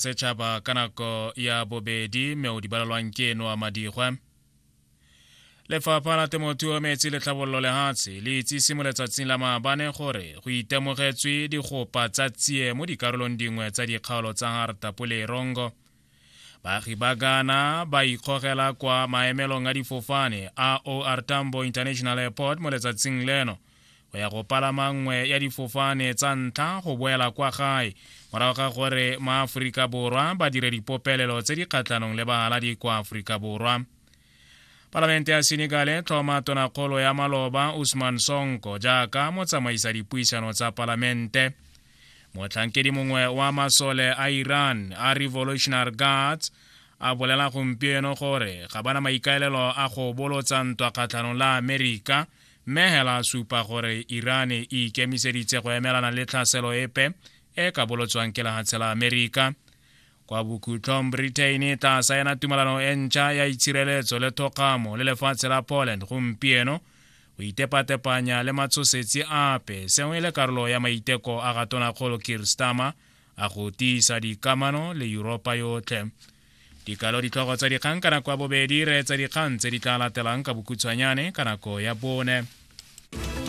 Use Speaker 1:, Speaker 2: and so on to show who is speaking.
Speaker 1: Setšhaba ka nako ya bobedi mme o di balelwang ke eno a madigwe. Lefapha la Temothuo, Metsi le Tlhabololo Lehatshe le itsise mo letsatsing la maabane gore go itemogetswe digopa tsa tsie mo dikarolong dingwe tsa dikgaolo tsa Hartapo le Erongo. Baagi ba Ghana ba ikgogela kwa maemelong a difofane a OR Tambo International Airport mo letsatsing leno go ya go palama nngwe ya difofane tsa ntlha go boela kwa gae morago ga gore maaforika Borwa ba dire dipopelelo tse di kgatlhanong le bahaladi kwa Aforika Borwa. Palamente ya Senegal e tlhoma tonakgolo ya maloba Ousmane Sonko jaaka motsamaisa dipuisano tsa palamente. Motlhankedi mongwe wa masole a Iran a Revolutionary Guards a bolela gompieno gore ga bana maikaelelo a go bolotsa ntwa kgatlhanong la Amerika, mme hela a supa gore Iran e ikemiseditse go emelana le tlhaselo epe e ka bolotswang ke lehatshe la Amerika. Kwa bokhutlong, Britain e tla saena tumalano e ntšha ya itshireletso le thokgamo le lefatshe la Poland gompieno go itepatepanya le matshosetsi ape, seo e le karolo ya maiteko a ga tonakgolo Keir Starmer a go tiisa dikamano le Yuropa yotlhe. Dikalo ditlhogo tsa dikgang ka nako ya bobedi, reetsa dikgang tse di tla latelang ka bokhutshwanyane ka nako ya bone.